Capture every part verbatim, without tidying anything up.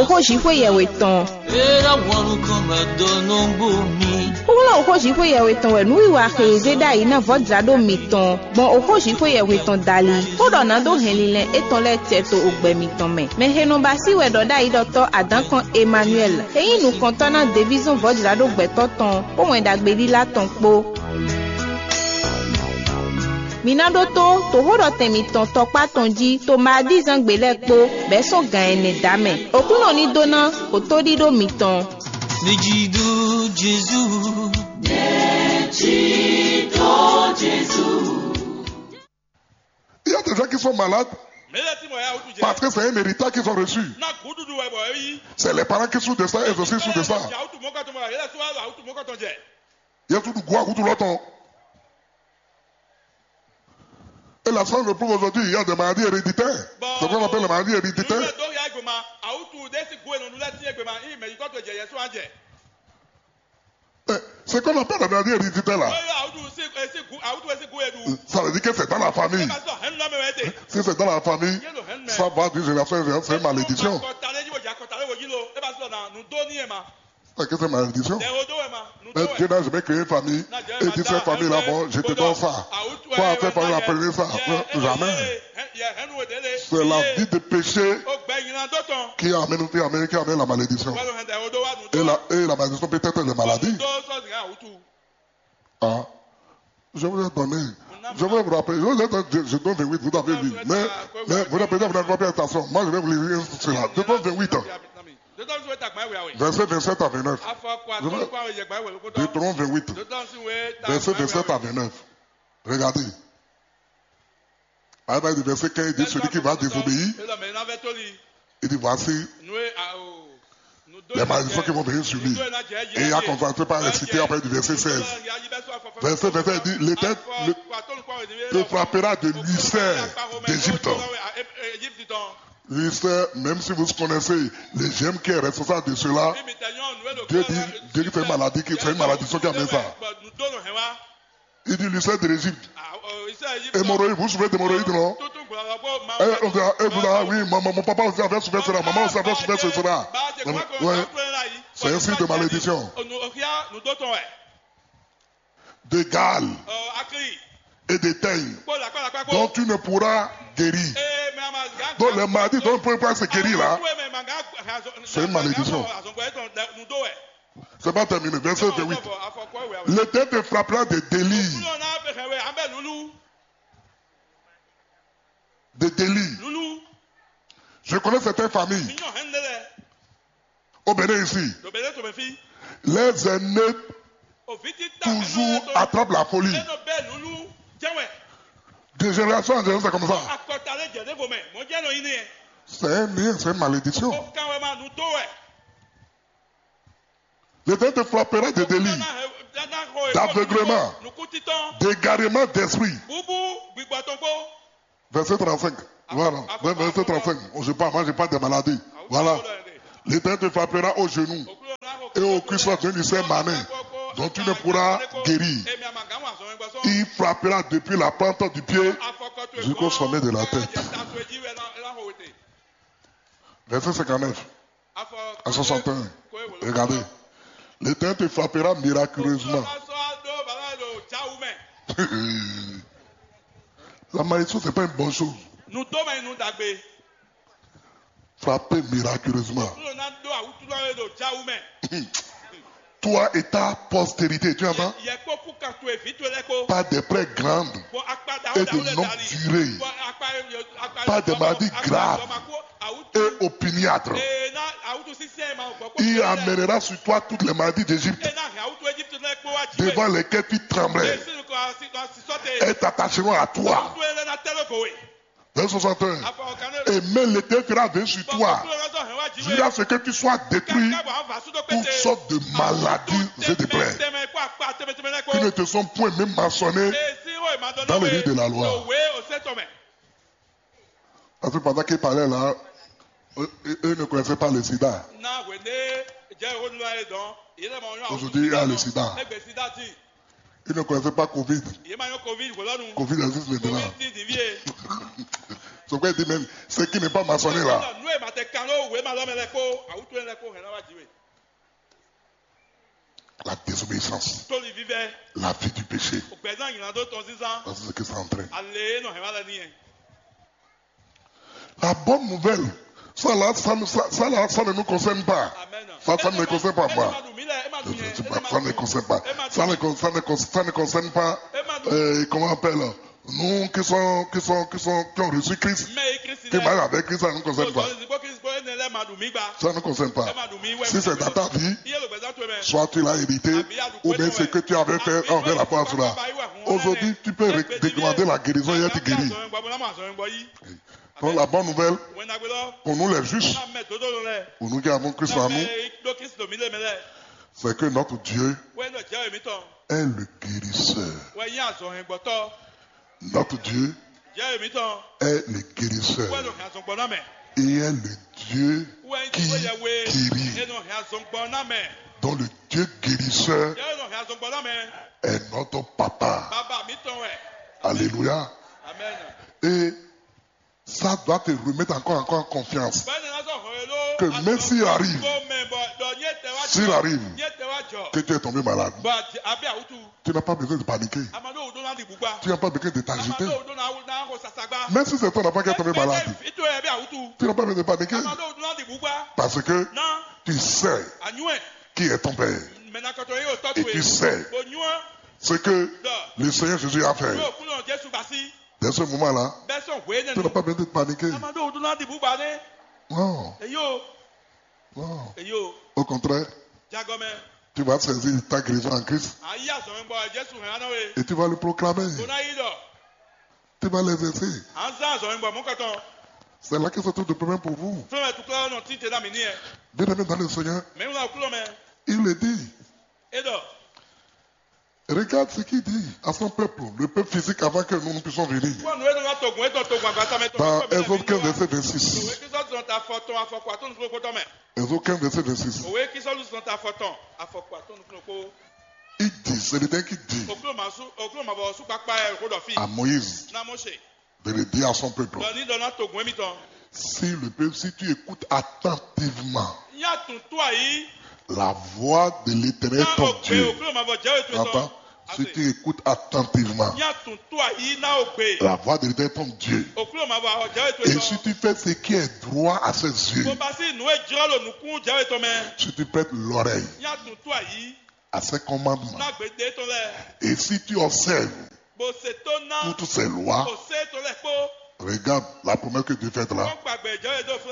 Oxó Jixwé yɛhwe tɔn. Era wanu kɔn ma dɔ nɔgbo mi. Xóxó Jixwé yɛhwe tɔn wɛ nǔwiwa xe e zé ɖ'ayǐ ná vɔ̌jláɖó mitɔn gbɔn oxó Jixwé yɛhwe tɔn dali. Xó ɖɔ nǎ dó hɛn linlɛn étɔn lɛ́ɛ cɛ to ogbɛ mitɔn mɛ. Mɛ he nɔ ba sí wɛ ɖɔ ɖ'ayǐ ɖɔtɔ́ Adǎnkɔn Emmanuel, e nyí nukɔntɔ́ ná devízɔn vɔ̌jláɖó gbɛtɔ́ tɔn, kpó Wɛn Ɖagbe ɖílá tɔn kpó. Mi ná ɖótó toxóɖɔtɛn mitɔn tɔkpá tɔn jí to Maadízangbe lɛ́ɛ kpó, bɛ̌ sɔ́ gan ɛnɛ dǎ mɛ. Oklúnɔ ní dó ná otóɖíɖó mitɔn. Nejido Jezu. Il y a des gens qui sont malades Mele ti mɔ ya wutu jɛ. Parce que c'est un héritage qu'ils ont reçu. Na gududu wɛ bɔ eyi. C'est les parents qui souffrent de ça, elles aussi souffrent de ça. Ya wutu mɔkɔtɔ mɔ ya yɛlɛ suwa la wutu mɔkɔtɔ jɛ. Il y a tout du goût à goût tout l'autre. Et la science le prouve aujourd'hui, il y a des maladies héréditaires. C'est ce qu'on appelle les maladies héréditaires. Nínú dó ya gbèmà awutu dé si gu enɔ lɛ si gbèmà iye mɛ yikɔ to jɛ yɛsu an jɛ. Eh, C'est qu'on appelle les maladies héréditaires là. Oyo awutu si esi gu awutu esi gu edu. Ça veut dire que c'est dans la famille. Eba sɔ hɛn lɔ mɛ wɛ te. Si c'est dans la famille, ça va d'une génération en génération, c'est une malédiction. Kɔtale yi wo ja kɔtale wo yi lo. Eba sɔ na nu do ni ema. C'est que c'est malédiction. Dɛ o do ema. Nu do Mais Dieu wɛ. N'a jamais créé une famille et dit cette famille-là, bon, je te donne ça. Quoi, cette famille-là, prenez ça. Non, jamais. C'est la vie de péché O gbɛ yina do tɔn. qui amène, qui amène, qui amène la malédiction. Wɛlɛ hɛn dɛ o do wa nu do. Et la, et la malédiction peut être les maladies. Do sɔ zin awutu. Ah. Je vous ai donné. Je vais vous rappeler. Je, vous ai donné- je, je donne vingt-huit, vous avez vu. Mais, mais vous n'avez pas vous n'avez pas fait attention. Moi, je vais vous lire cela. Deutéronome vingt-huit, Deuteronome wɛ ta gbɛ wɛ awe. Verset vingt-sept à vingt-neuf. Afɔ kɔ atɔ kɔ awe yɛ gbɛ wɛ loko dɔn. Deutéronome vingt-huit, Deuteronome si wɛ ta verset gbɛ wɛ vingt-sept awe. À vingt-neuf. Regardez. À partir du verset quinze, il dit celui qui va désobéir, Elɔ mɛ n'a vɛ toli. Il dit voici, Nu e a o. Nu do les malédictions qui vont venir sur lui. Et il a commencé par réciter après du verset seize. Verset vingt-sept dit, l'Éternel le- te frappera de l'ulcère d'Égypte. L'ulcère, même si vous connaissez le germe qui est responsable de cela, Dieu dit, Dieu dit c'est une maladie qui, c'est une malédiction qui amène ça. Il dit l'ulcère de l'Égypte. Hémorroïde, vous souffrez d'hémorroïde, non? Eh, on dit, eh, vous, ah oui, mon, mon papa aussi avait souffert cela, maman aussi avait souffert cela. Ouais. C'est un signe de malédiction. De Gaal et de Teigne, dont tu ne pourras guérir. Donc les maladies dont tu ne peux pas se guérir là, c'est une malédiction. C'est pas terminé. Verset vingt-huit. L'Éternel te frappera de délire. De délire. Je connais certaines familles au Bénin ici. Les aînés toujours attrapent la folie. De génération en génération, c'est comme ça. C'est un lien, c'est une malédiction. L'Éternel te frappera de délire, d'aveuglement, d'égarement d'esprit. Verset trente-cinq. Voilà. Verset trente-cinq. Oh, je parle, moi, je parle des maladies. Voilà. L'Éternel te frappera au genou et aux cuisses d'une seule main, dont tu ne pourras guérir. Il frappera depuis la plante du pied jusqu'au sommet de la tête. Verset cinquante-neuf à soixante et un. Regardez. L'Éternel te frappera miraculeusement. La malédiction, c'est pas une bonne chose. Nu dó mɛ nu dagbe. Frappé miraculeusement. Kúrò ná dó àwùjọ lọ́wọ́ èdò jáwú mẹ́. Toi et ta postérité, tu entends? Yẹ kó kú kan to èvì tó lẹ́ kó. Par des plaies grandes Bɔ akpadà et ó dà de ó lè longue dàlí. Durée, Bɔ akpa akpa par des maladies graves et opiniâtres. Ee na àwùjọ sísẹ́ ma gbọ́ kó. Il amènera sur toi toutes les maladies d'Égypte. Ee na hàn àwùjọ Egypt lẹ́ kó wá jí. Devant lesquels tu tremblais. Èsì nìkan àti àti sọ́tẹ̀. Elles t'attacheront à toi. Tó yẹ lẹ́nà tẹ́lẹ̀ kò wé. Verset soixante et un. Afọ kan Et mais l'Éternel fera venir sur toi Kúrò lọ́sọ̀ hàn wá jí wé. Jusqu'à ce que tu sois détruit Kábọ̀ àwọn fàṣú tó toutes pété. sortes de maladies et de plaies Tẹ́mẹ̀ kó apá tẹ́mẹ̀tẹ́mẹ̀ kó. Qui ne te sont point même mentionnées Èsì ó ìmọ̀dọ́ dans le livre de la loi. Òwe òsètò mẹ́. Parce que pendant qu'il parlait là, eux, eux ne connaissaient pas le sida. Na wende jẹ́ ìwé nínú ayé dán. Ìyẹn lè mọ oyún àwọn. Aujourd'hui, il y a le sida. Ẹgbẹ́ sida tì. Ils ne connaissaient pas Covid. Ìyẹn máa yọ covid wò lọ́nu. Covid existe maintenant. Covid ti di vie. Donc, il dit même, ce qui n'est pas mentionné là, Nú e ma tɛ kan ɖó wěma lɔ mɛ lɛ́ɛ kpó awǔtúnyɛ lɛ́ɛ kpó hɛn ná wá jǐ we. La désobéissance, Tóli vívɛ́, la vie du péché. Gbɛ̌zán nyǐlá dó tɔn zínzán. Parce que c'est ce qui ça entraîne. Ale e nɔ hɛn wá lɛ n'i. La bonne nouvelle, ça là, ça, ne- ça, ça là, ça ne nous concerne pas. Amen. Ça, ça ne me concerne pas, moi. Je ne suis pas- ça ne me concerne pas. Ça ne, con- ça ne, con- ça ne concerne pas, euh, comment on appelle, nous qui sont, qui sont, qui sont, qui ont reçu Christ, qui marchent avec Christ, ça ne nous concerne pas. Ça ne nous concerne pas. Si c'est dans ta vie, soit tu l'as hérité, ou bien ce que tu avais fait envers la foi, cela. Aujourd'hui, tu peux ré- demander la guérison et être guéri. Donc la bonne nouvelle pour nous les justes, pour nous qui avons Christ en nous, c'est que notre Dieu est le guérisseur. Notre Dieu est le guérisseur et est le Dieu qui guérit. Donc le Dieu guérisseur est notre papa. Alléluia. Et ça doit te remettre encore, encore en confiance que même s'il arrive, s'il arrive que tu es tombé malade, tu n'as pas besoin de paniquer. Tu n'as pas besoin de t'agiter. Même si c'est ton enfant qui est tombé malade, tu n'as pas besoin de paniquer. Parce que tu sais qui est ton père. Et tu sais ce que le Seigneur Jésus a fait. Dès ce moment-là, tu n'as pas besoin de paniquer. Non, non. Au contraire, tu vas saisir ta guérison en Christ et tu vas le proclamer. Tu vas l'exercer. C'est là que se trouve le problème pour vous. Bien-aimé dans le Seigneur, il le dit. Regarde ce qu'il dit à son peuple, le peuple physique, avant que nous ne puissions venir. Dans Exode quinze, verset vingt-six. Exode quinze, verset vingt-six. Il dit, c'est le Seigneur qui dit à Moïse de le dire à son peuple, si le peuple, si tu écoutes attentivement la voix de l'Éternel ton Dieu, attends, si tu écoutes attentivement la voix de l'Éternel ton Dieu, et si tu fais ce qui est droit à ses yeux, si tu prêtes l'oreille à ses commandements, et si tu observes toutes ses lois, regarde la promesse que Dieu fait là.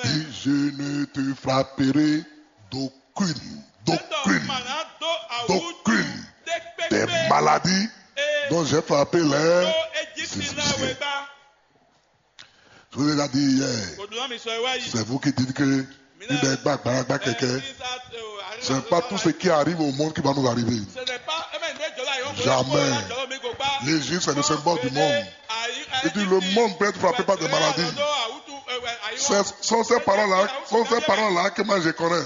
Il dit, je ne te frapperai d'aucune, d'aucune, d'aucune des maladies dont j'ai frappé les Égyptiens. Je vous ai déjà dit hier, c'est vous qui dites que une des gba- gba- gba- keke, c'est pas tout ce qui arrive au monde qui va nous arriver. Jamais. L'Égypte, c'est le symbole du monde. Il dit, le monde peut être frappé par des maladies. Ce sont ces parents-là, sont ces parents-là que moi je connais.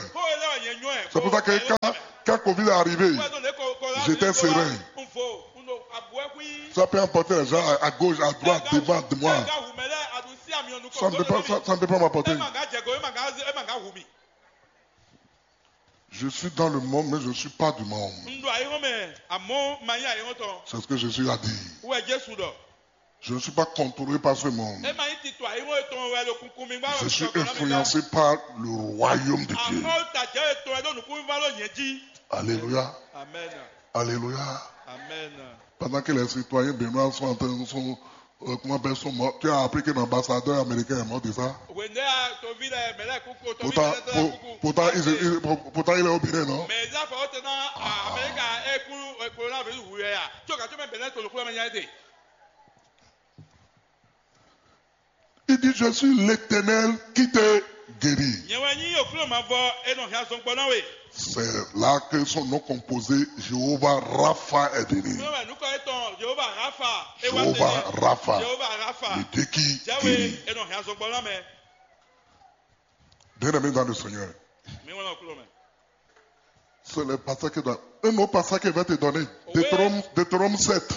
C'est pour ça que quand, quand covid est arrivé, j'étais serein. Ça peut emporter les gens à, à gauche, à droite, devant de moi. Ça ne peut pas, ça, ça ne peut pas m'emporter. Je suis dans le monde, mais je ne suis pas du monde. C'est ce que Jésus a dit. Je ne suis pas contrôlé par ce monde. Je suis influencé par le royaume de Dieu. Alléluia. Alléluia. Pendant que les citoyens béninois sont en train, sont, euh, comment appelle, sont morts, tu as appris que l'ambassadeur américain est mort de ça. Pourtant, pour- pourtant, ils- ils- pour- pourtant, il est au Bénin, non? Il dit, je suis l'Éternel qui te guérit. C'est là que son nom composé, Jéhovah Rapha, est venu. Jéhovah Rapha, le Dieu qui guérit. Bien-aimé dans le Seigneur, c'est le passage que dans un autre passage qu'il va te donner. Deutéronome, Deutéronome sept,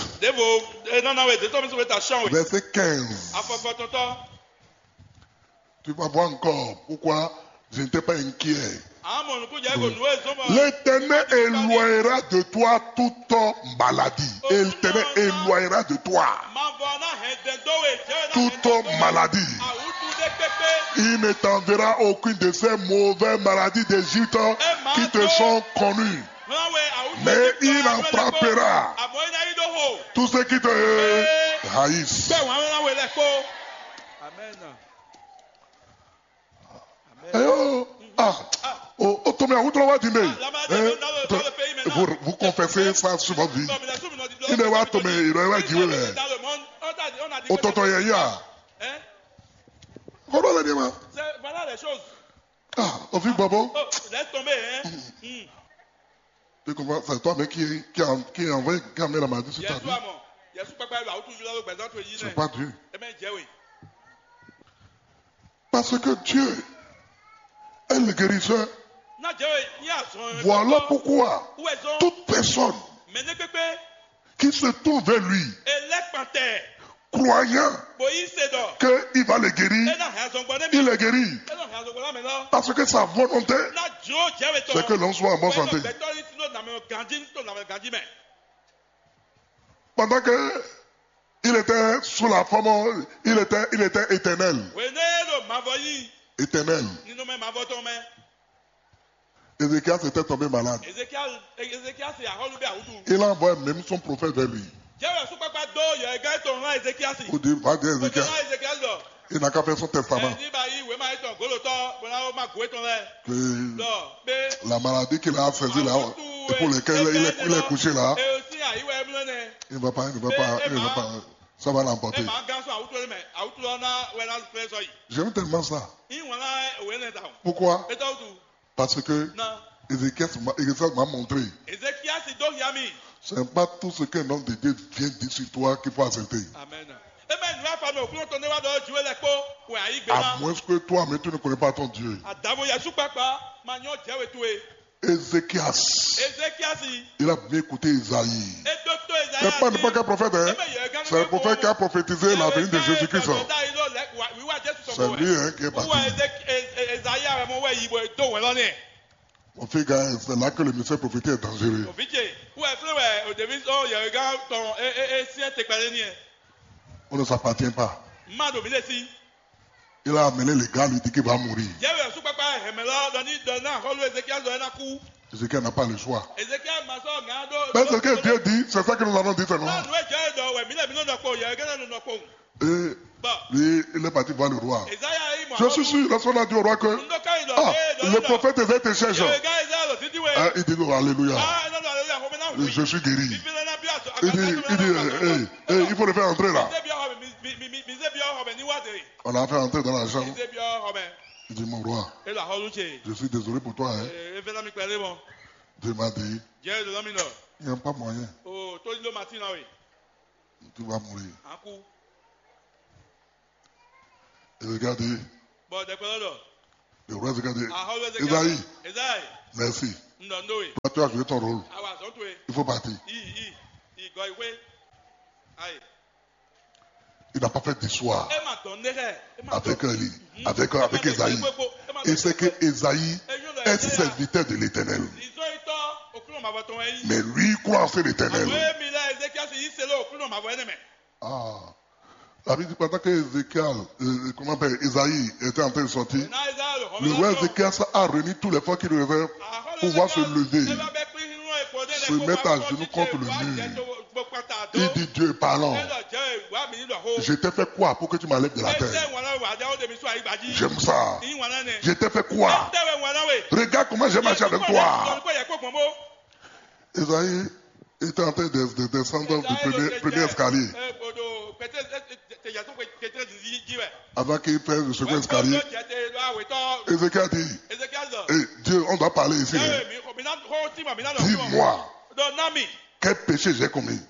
verset quinze. Tu vas voir encore pourquoi je n'étais pas inquiet. Àmọ́ nukúnjẹ́ kò nú èso mọ́. L'Éternel éloignera de toi toute maladie. L'Éternel éloignera de toi Mavɔ ná hɛn dɛndó we jẹ́ ná toute maladie. Àwùjọ dé pépé. Il ne t'enverra aucune de ces mauvaises maladies d'Égypte qui te sont connues. Mlawe àwùjọ Mais il en frappera Àmọ́ iná yí dó hó. Tous ceux qui te haïssent. Bẹ́ẹ̀ wọ́n á wé lẹ́kọ́. Amen. Ayo, ah, o o tɔmɛ awutɔ wa di ne. Eh, vous, vous confessez ça sur votre vie. Il est wa tɔmɛ, il est wa jiwe lɛ. O tɔtɔ yɛ ya. Kɔrɔ lɛ ni ma. Voilà les choses. Ah, o fi gbɔbɔ. Oh, laisse tomber, hein. Hmm. Tu comprends? C'est toi-même qui, qui, a- qui envoie, qui amène la maladie sur ta Yesu vie. Amɔ, Yesu kpakpa yɛ awutu yula ló gbɛzan to yi C'est nɛ. Pas Dieu. Eme jɛ we. Parce que Dieu est le guérisseur. N'a jɛ we ní azɔn. Voilà pourquoi Où est zɔn? Toute personne Mɛ ne kpekpe. Qui se tourne vers lui, Elɛkpantɛ. Croyant Bɔ yi se dɔ. Qu'il va le guérir, Ena hɛn azɔn gbɔ ne Il mi. le guérit. Ena hɛn azɔn gbɔ na mɛ lɔ. Parce que sa volonté, Na jo jɛ we tɔ. C'est que l'homme soit en bonne santé. Bɛtɔ yi tino namɛ ganji to namɛ ganji mɛ. Pendant que il était sous la forme, il était, il était éternel. Wene lo mavɔ yi. Éternel. Nínú mɛ mavɔ tɔn mɛ. Ézéchias était tombé malade. Ezekiel Ezekiel se ahɔlu bɛ awutu. Il a envoyé même son prophète vers lui. Jɛ we sukpakpa do yɔ ega etɔn hã Ezekiel si. Pour dire, va dire Ezekiel Ézéchias, Ezekiel dɔ. Il n'a qu'à faire son testament. Ɛ ní ba yi wema etɔn golotɔ bɔla wo ma go etɔn lɛ. Que Dɔ be. La maladie qu'il a saisi là, et pour laquelle il est, il est couché là, E o si ayi wɛ mlɔ nɛ. il ne va pas, il ne va pas, il ne va pas. Ça va E l'emporter. ma gan sɔn awutu lɛ mɛ awutu lɔ na wɛ na fɛ sɔ yi. J'aime tellement ça. Iwɔn la o wɛ nɛ ta o. Pourquoi? Etɔ tu. Parce que Na. Ézéchias m'a Ézéchias m'a montré. Ezekiel si do hia mi. Ce n'est pas tout ce qu'un homme de Dieu vient dire sur toi qu'il faut accepter. Amen. Eme nu afa mi okun tɔn ne wa dɔ jiwe lɛ kpo wɛ ayi gbe À na. Moins que toi-même, tu ne connais pas ton Dieu. Adavo Yesu kpakpa ma nyɔ jɛ we tu e. Ézéchias, Ezekiel si. Il a bien écouté Isaïe. E do to Ezekiel. C'est pas n'importe quel prophète, hein. C'est le prophète qui a prophétisé la venue de Jésus-Christ. Wíwá Jésù C'est sọ̀kò lui, wẹ̀. Hein, qui est parti. Wíwá Ezekiel Ezekiel wẹ̀ mọ wẹ̀ yìí bọ̀ do wẹ̀ lọ́nìí. Mon frère, c'est là que le mystère prophétique est dangereux. Òfíjì wíwá fúnlẹ̀ wẹ̀ òdèmí sọ yẹ̀rẹ̀gá tọ̀n é é é sí ẹ̀ tẹ̀gbẹ́lẹ́ ní ẹ̀. On ne s'appartient pas. Má dò mí lé sí. Il a amené les gars, lui dit qu'il va mourir. Jẹ́ wẹ̀ sún pápá ẹ̀hẹ̀mẹ̀ lọ lọ ní dọ̀ náà họ́lú Ezekiel lọ ẹ̀ ná kú. Ézéchiel n'a pas le choix. Ezekiel ma sọ ŋà dó. Mais ce que Dieu dit, c'est ça que nous allons dire seulement. Náà nù ẹ̀ jẹ́ dọ̀ wẹ̀ mí lẹ̀ mí ló nọ kpó yẹ̀rẹ̀gá náà nù nọ kpó. Et Bọ̀ lui, il est parti voir le roi. Ezekiel yìí mọ̀. Je suis sûr, lorsqu'on a dit au roi que Ndóká yìí lọ ah, é lọ le prophète Ésaïe te cherche, Yẹ̀rẹ̀gá Ezekiel lọ sí díwẹ̀. Hein, il dit oh, Alléluia, Ah ẹ̀ lọ́dọ̀ àlejò àkọ́mọ́ náà wù. Je suis guéri. Ìfilẹ̀ náà bí àtọ̀ Il dit, il dit, eh, eh, eh, il faut le faire entrer là. Mizé bí ọ̀họ̀ mi, mi, mi, mi, mizé bí ọ̀họ̀ mi níwádìí. On l'a fait entrer dans la chambre. Mizé bí ọ̀họ̀ mi. Il dit, mon roi, Elo àhọ́lú ṣe. Je suis désolé pour toi. Hein. Ee, fẹ́ lámì pẹ̀lú mọ́. Dieu m'a dit, Jẹ́ èdè lọ́mì náà. Il n'y a pas moyen. O tó ní ló máa tì náà wè. Tu vas mourir. À ń kú. Et regarde, Bọ̀ dẹ̀pẹ́ lọ́dọ̀. Le roi regarde. Àhọ́lú Ezekiel. Isaïe, Ezekiel. Merci. Ǹdọ̀ ndówe. Toi, tu as joué ton rôle. Àwọn àzọ́ tó e. Il faut partir. Iyì iyì. Ìgọ̀ ìwé. Ayé. Il n'a pas fait d'histoire Ẹ máa dán ní rẹ̀. Ẹ máa avec dán. lui, avec, avec Isaïe. Il sait que Isaïe est serviteur de l'Éternel. Ìzó itọ́ òkúrò màbọ̀ tó wẹ̀ yìí. Mais lui, il croit en l'Éternel. Àwọn èmi lẹ́ Ezekiel sì yí ṣe lé òkúrò màbọ̀ ẹ̀ nìmẹ̀. Ah, la Bible dit pendant que Ézéchiel, euh, comment on appelle, Isaïe était en train de sortir, Náà Ezekiel lò le roi Ézéchiel a réuni tous les forces qu'il devait pour pouvoir se lever, se mettre à genoux contre le mur. Il dit, Dieu est parlant. Je t'ai fait quoi pour que tu m'enlèves de la terre? J'aime ça. Je t'ai fait quoi? Regarde comment j'ai marché avec toi. Isaïe était en train de, de descendre du premier, premier escalier avant qu'il fasse le second escalier. Ézéchiel dit, Hé, Dieu, on doit parler ici, hein. Dis-moi, quel péché j'ai commis?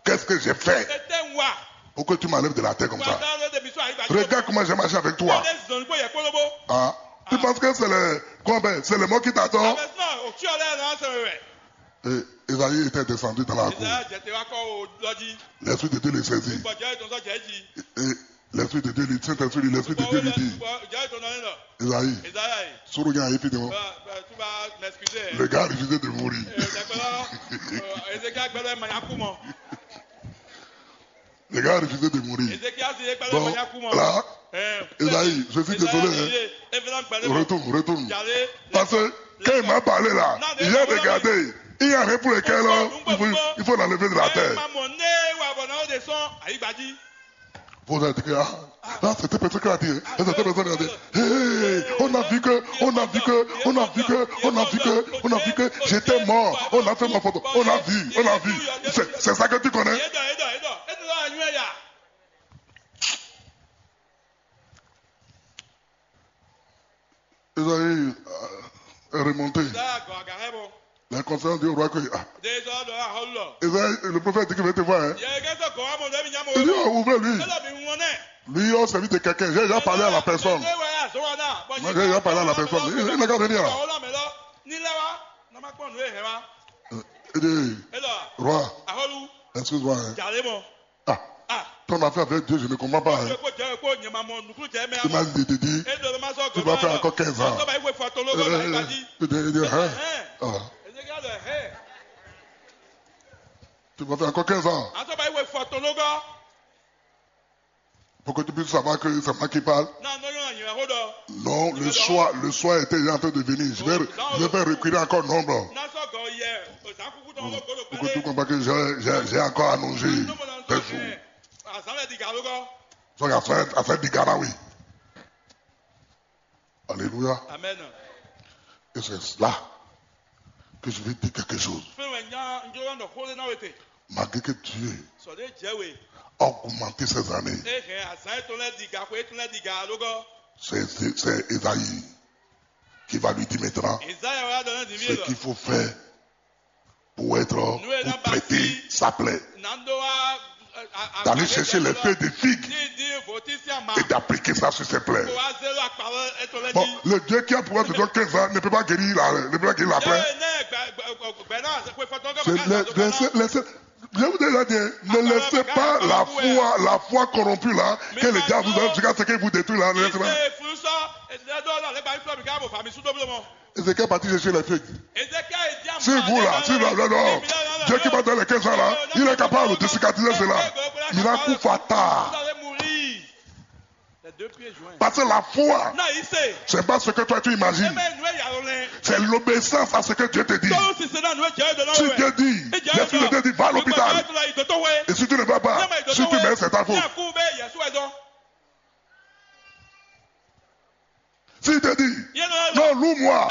Qu'est-ce que j'ai fait pour que tu m'enlèves de la terre comme ça? Regarde comment j'ai marché avec toi. Ah, tu penses que c'est le, comment, c'est le mot qui t'attend? Et Isaïe était descendu dans la cour. L'Esprit de Dieu le saisit. Et L'Esprit de Dieu lui, Saint-Esprit lui, l'Esprit de Dieu lui dit, Esaïe, soro nya évidemment. Le gars a refusé de mourir. Le gars a refusé de mourir. Donc, là, Esaïe, je suis désolé, hein. Retourne, retourne. Parce que quand il m'a parlé là, il a regardé. Il n'y a rien pour lequel, hein, il faut, il faut l'enlever de la terre. Vous avez dit que, ah, là, c'était personne qui a dit, hein. C'était personne qui a dit, hey, on a vu que, on a vu que, on a vu que, on a vu que, on a vu que j'étais mort. On a fait ma photo. On a vu, on a vu. C'est, c'est ça que tu connais. Esaïe, euh, est remonté. La conférence dit au roi que, ah, Esaïe, le prophète dit qu'il veut te voir, hein. Il dit, oh, ouvrez-lui. Lui, on servit de quelqu'un. J'ai déjà parlé à la personne. Moi, j'ai déjà parlé à la personne. Il, il n'a qu'à venir là. Euh, il dit, roi, excuse-moi, hein. Ah, ton affaire avec Dieu, je ne comprends pas, hein. Il m'a dit, dit, dit, tu vas faire encore quinze ans. Euh, il dit, il dit, hein. Ah. Tu vas faire encore quinze ans. Pour que tu puisses savoir que c'est moi qui parle. Non, le soir, le soir était déjà en train de venir. Je vais, je vais faire reculer encore nombre. Pour que tu comprennes que j'ai, j'ai, j'ai encore allongé tes jours. Donc, à faire, à faire des gars là, oui. Alléluia. Amen. Et c'est là que je vais dire quelque chose. Fɛn wɛ nya n jɔ nɔ xó ɖé ná we te. Malgré que Dieu Sɔ ɖe jɛ we. A augmenté ces années, E hɛn azan etɔn lɛ diga xwe etɔn lɛ diga lógɔ. C'est, c'est, c'est Esaïe qui va lui dire maintenant Ezaya wa dɔ ne divi ce qu'il faut faire pour être, pour traiter sa plaie. D'aller chercher les feuilles de figue et d'appliquer ça sur ses plaies. Bon, le Dieu qui a pouvoir te donner quinze ans ne peut pas guérir la, ne peut pas guérir la plaie. C'est le, laissez, laissez, je vous ai déjà dit, hein, ne laissez pas la foi, la foi corrompue là, que le diable vous a jusqu'à ce qu'il vous détruit là, ne laissez pas. Ézéchiel est parti chercher les feuilles. Si vous là, si là, là, là, Dieu qui m'a donné les quinze ans là, il est capable de cicatriser cela. Il a coup fatal. Parce que la foi, c'est pas ce que toi tu imagines. C'est l'obéissance à ce que Dieu te dit. Si Dieu dit, l'Esprit de Dieu dit, va à l'hôpital. Et si tu ne vas pas, si tu meurs, c'est ta faute. Si te dit, non, loue-moi.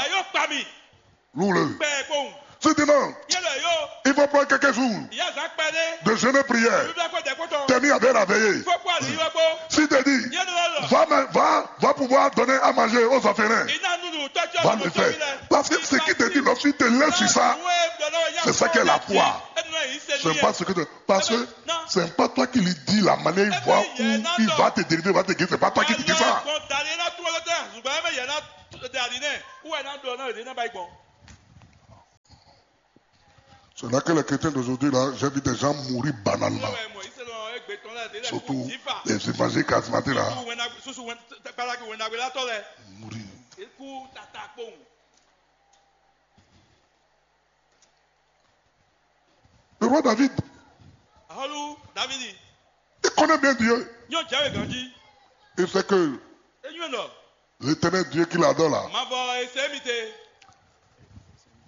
Loue-le. Si te dit non, il faut prendre quelques jours de jeûne et prière. Termine avec la veillée. Si te dit, va, va, va pouvoir donner à manger aux orphelins. Va le faire. Parce que ce qu'il te dit, lorsqu'il te laisse sur ça, c'est ça qu'est la foi. C'est pas ce que tu, parce que c'est pas toi qui lui dis la manière il va, où il va te délivrer, va te guérir. C'est pas toi qui te dis ça. C'est là que les chrétiens d'aujourd'hui, là, j'ai vu des gens mourir banalement. Surtout les évangéliques charismatiques, là. Mourir. Le roi David, Ahɔlu Davidi, Il connaît bien Dieu. Nyɔ jɛ we ganji. Il sait que Enyo nɔ. L'Éternel Dieu qu'il adore là, Mavɔ ese mi te.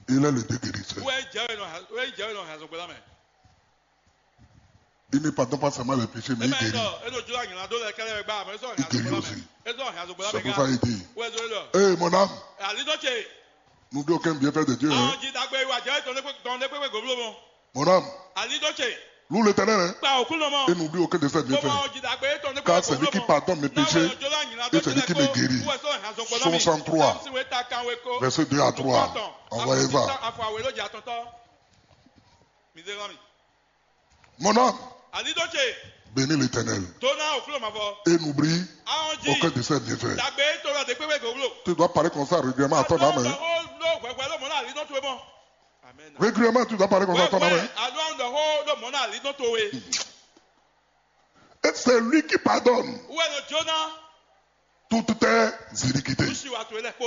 Il est le Dieu guérisseur. Wɛ jɛ we nɔ ha wɛ jɛ we nɔ ha zɔgbɛ la mɛ. Il ne pardonne pas seulement les péchés, mais il guérit. Eno jɔ anyina do lɛ kɛlɛ gba mɛ sɔ Il guérit aussi. Esɔ ha zɔgbɛ la mɛ. C'est pour ça il dit, Wɛ zɔ lɔ. Hé, mon âme, Ali dɔ ce. N'oublie aucun bienfait de Dieu, hein. Awon ji dagbe wa jɛ tɔn ne kpe tɔn ne kpe goblo mɔ. Mon âme, Ali dɔ ce. Loue l'Éternel, hein, Kpa okun nɔ mɔ. Et n'oublie aucun de ses bienfaits. Kpɔmɔ ji dagbe tɔn ne kpe goblo mɔ. Car celui qui pardonne mes péchés et celui qui me guérit. Soixante-trois, verset deux à trois. Envoyez ça. Mon âme, Ali dɔ ce. Bénis l'Éternel. Dona okun nɔ ma fɔ. Et n'oublie Awon ji aucun de ses bienfaits. Dagbe tɔn ne kpe goblo. Tu dois parler comme ça régulièrement à ton âme, hein. Régulièrement, tu dois parler comme ça à ton âme, hein. Et c'est lui qui pardonne Wɛ nɔ jóná. Toutes tes iniquités. Kusi wa to lɛ kpo.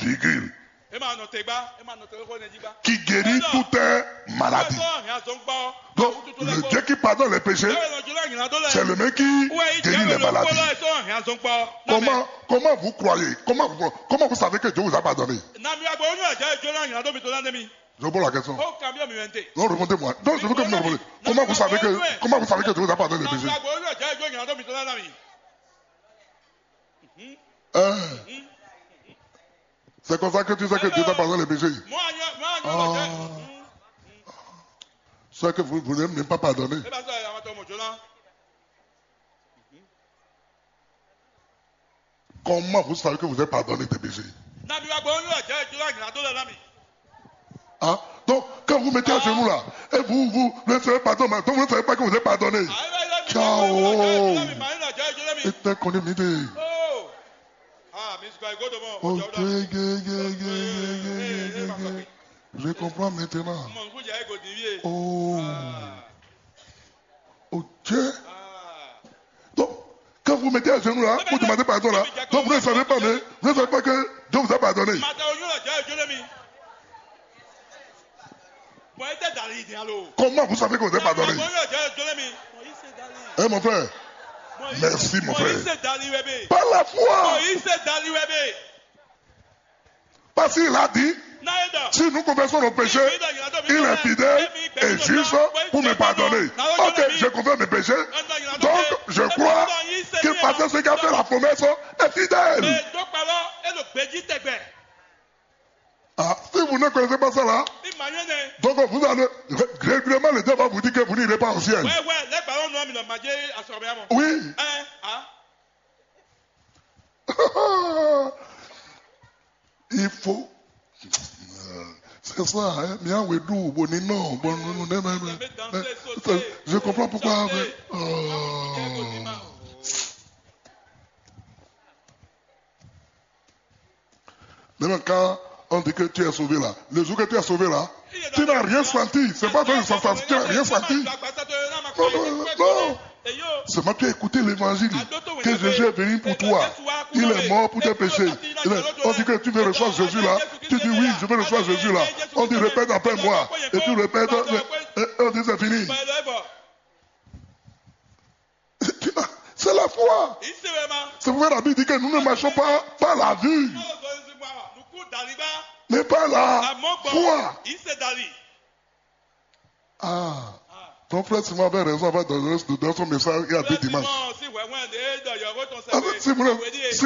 Virgule. E ma nɔ te gba. E ma nɔ te xɔ ne jí gba. Qui guérit toutes tes maladies. Sɔ hɛn azɔn gbɔ. Donc, le Dieu qui pardonne les péchés, Wɛ nɔ jóná nyina dó lɛ. c'est le même qui guérit les maladies. Sɔ hɛn azɔn gbɔ. Comment, comment vous croyez, comment vous, comment vous savez que Dieu vous a pardonné? Nami agbo onye ajá jóná nyina dó mi tó ná mi. Je vous pose la question. O kan bí mi wɛnte. Non, répondez-moi. Non, je veux que vous me répondiez. Comment vous savez que, comment vous savez que Dieu vous a pardonné les Nami péchés? Agbo onye ajá jóná nyina dó mi tó ná mi. Hein? C'est comme ça que tu sais que Dieu t'a pardonné les péchés. Mɔ anyɔ mɔ anyɔ lɔ jɛ. Ce que vous ne voulez même pas pardonner. E ba sɔ ya ma tɔ mɔ jóná. Comment vous savez que vous êtes pardonné des péchés? Nami agbo onye ajá jóná nyina dó lɛ ná mi. Hein? Donc, quand vous mettez à genoux là, et vous, vous ne savez pas, donc vous ne savez pas que vous êtes pardonné. Ciao. Et t'es connu, midi. Oh. Ah, mi sukɔ ego dɔmɔ. Ok, gé, gé, gé, gé, gé, gé, gé, gé. Je comprends maintenant. Mɔ nkú jẹ ego di vie. Oh. Ok. Donc, quand vous mettez à genoux là, vous demandez pardon là, donc vous ne savez pas, mais vous ne savez pas que Dieu vous a pardonné. Mata onye ajá jóná mi. Mɔ ete dali di alo. Comment vous savez que vous êtes pardonné? Onye ajá jóná mi. Mɔ ise dali. Eh mon frère, merci mon Mɔ frère. Ise dali wɛ be. Par la foi, Mɔ Ise dali wɛ be. Parce qu'il a dit, N'a ye dɔ. Si nous confessons nos péchés, il est fidèle et juste pour me pardonner. Ok, je confesse mes péchés. Donc, je crois que parce que ce qui a fait la promesse est fidèle. Mɛ dɔ kpalɔ e ɖo gbeji tɛgbɛ. Ah, si vous ne connaissez pas ça là, Mi ma nyɔ nɛ. Donc vous allez ré- régulièrement, le diable va vous dire que vous n'irez pas au ciel. Wɛ wɛ lɛ gbalɔ nɔ mi nɔ ma jɛ asɔrɔ mi amɔ. Oui, Ɛ a. Il faut. C'est ça, hein? Mais en Ouédou, bon, non, bon, non, non, non, non, non. Je comprends pourquoi. Mais, oh. Même quand on dit que tu es sauvé là, le jour que tu es sauvé là, tu n'as rien senti. C'est pas fait de sensation, tu n'as rien senti. Non, non, non, non. Seulement tu as écouté l'évangile que Jésus est venu pour toi. Il est mort pour tes péchés. Il est- On dit que tu veux recevoir Jésus là. Tu dis oui, je veux recevoir Jésus là. On dit répète après moi. Et tu répètes. Et on dit c'est fini. C'est la foi. C'est pourquoi la Bible dit que nous ne marchons pas par la vue, mais par la foi. Ah, ton frère Simon avait raison avant de donner son message il y a deux dimanches. Ah, si, si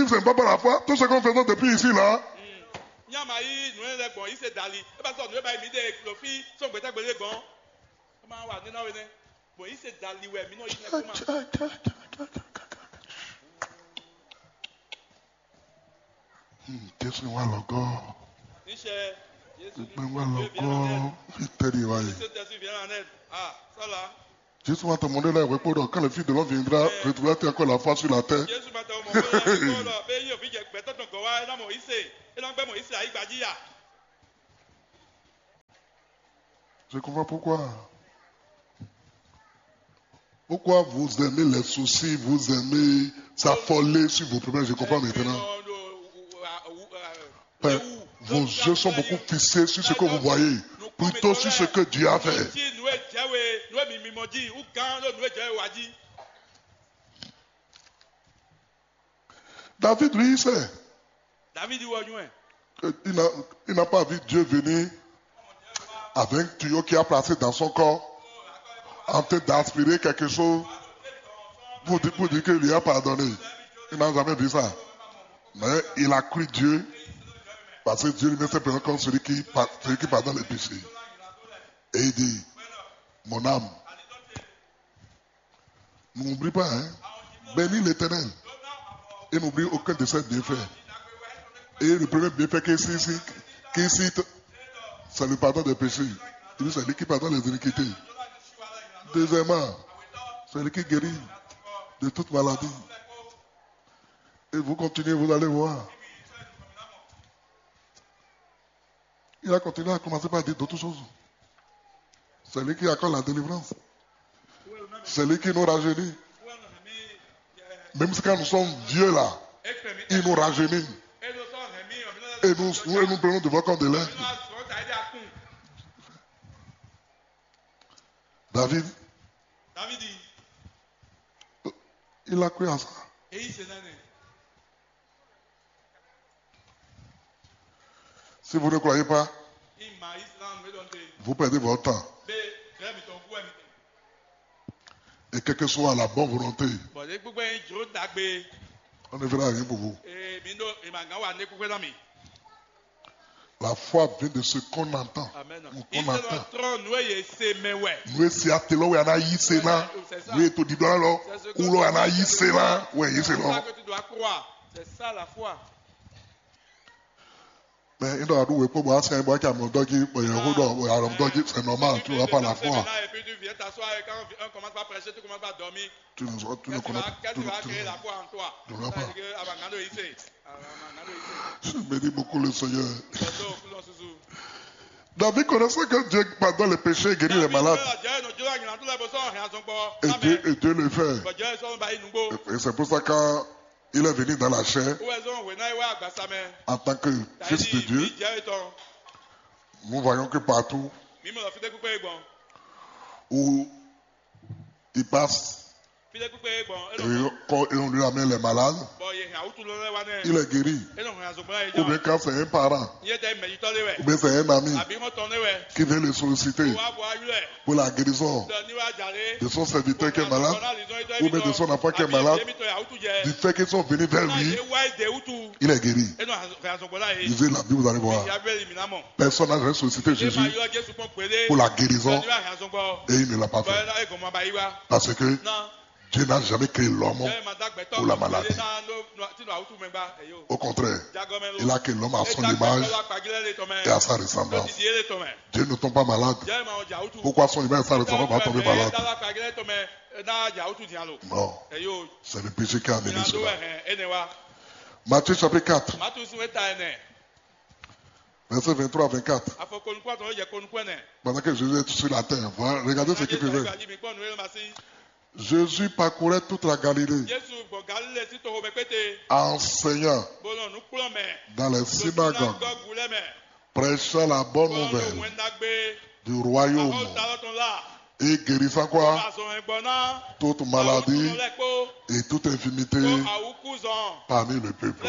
ce n'est pas par la foi, tout ce qu'on fait depuis ici là, Nyama yi nù ɛ lɛ gbɔn yi se dali. E ba sɔ nù e ba yi mi de lo fi sɔn gbɛtɛ gbele gbɔn. E ma wa nínú awe nɛ. Bɔn yi se dali wɛ mi nɔ yi nɛ kuma. Jésù wà lọ́gọ́. Níṣẹ́ Jésù Gbẹ̀ngbà lọ́gọ́. Ìtẹ̀lé wa yìí. Jésù tẹ̀sí viens en aide. Ah, ça là. Jésus va te demander là, répondre quand le Fils de l'homme viendra, retrouvera-t-il encore la foi sur la terre? Jésù máa tẹ ọmọ bóyá ẹni kọ́ lọ pé yóò fi jẹ gbẹ́tọ́ tán gọ̀ wá ẹ náà mọ̀ ìsè ẹ náà gbẹ́ mọ̀ ìsè àyígbà jíyà. Je comprends pourquoi. Pourquoi vous aimez les soucis, vous aimez s'affoler sur vos problèmes? Je comprends maintenant. Enfin, vos yeux sont beaucoup fixés sur ce que vous voyez, plutôt sur ce que Dieu a fait. Tí inú ẹ̀ jẹ́ wé inú ẹ̀ mímí mọ́ jí wú gán ló inú ẹ̀ jẹ́ wé wá jí. David, lui, il sait. David wọ ọyún ẹ̀. Il n'a il n'a pas vu Dieu venir avec un tuyau qu'il a placé dans son corps, en train d'aspirer quelque chose pour dire, pour dire que lui a pardonné. Il n'a jamais vu ça. Mais il a cru Dieu, parce que Dieu lui-même se présente comme celui qui, par- celui qui pardonne les péchés. Et il dit, mon âme, n'oublie pas, hein, bénis l'Éternel et n'oublie aucun de ses bienfaits. Et le premier bienfait qu'il cite, qu'il cite, c'est le pardon des péchés. Il dit, c'est lui qui pardonne les iniquités. Deuxièmement, c'est lui qui guérit de toute maladie. Et vous continuez, vous allez voir. Il a continué à commencer par dire d'autres choses. C'est lui qui accorde la délivrance. C'est lui qui nous rajeunit. Même si quand nous sommes vieux là, il nous rajeunit. Et nous, et nous prenons devant comme de l'air. David, il a cru à ça. Si vous ne croyez pas, vous perdez votre temps. Et quelle que soit la bonne volonté, on ne verra rien pour vous. La foi vient de ce qu'on entend. Qu'on entend. Nǔ e si ate lɔ wɛ a nǎ yí se ná. Nǔ e to ɖiɖɔ lɔ wú lɔ a nǎ yí se ná wɛ yí se lɔ. Mais il doit louer pour moi, c'est un bois qui a mon doggy, mais il y a un dog, c'est normal, tu ne vas pas la foi. Tu ne, tu ne connais, tu ne, tu ne, tu ne vas pas. Je bénis beaucoup le Seigneur. David connaissait que Dieu pardonne les péchés et guérit les malades. Et Dieu, et Dieu le fait. Et c'est pour ça quand il est venu dans la chair en tant que fils de Dieu, nous voyons que partout où il passe, et quand on lui amène les malades, il est guéri. Ou bien quand c'est un parent, ou bien c'est un ami qui vient le solliciter pour la guérison de son serviteur qui est malade, ou bien de son enfant qui est malade, du fait qu'ils sont venus vers lui, il est guéri. Lisez la Bible, vous allez voir. Personne n'a jamais sollicité Jésus pour la guérison et il ne l'a pas fait. Parce que Dieu n'a jamais créé l'homme pour la maladie. Au contraire, il a créé l'homme à son image et à sa ressemblance. Dieu ne tombe pas malade. Pourquoi son image et sa ressemblance va tomber malade? Non, c'est le péché qui a amené cela. Matthieu chapitre quatre, verset vingt-trois à vingt-quatre. Pendant que Jésus est sur la terre, voilà, regardez ce qu'il faisait. Jésus parcourait toute la Galilée, enseignant dans les synagogues, prêchant la bonne nouvelle du royaume et guérissant quoi? Toute maladie et toute infirmité parmi le peuple.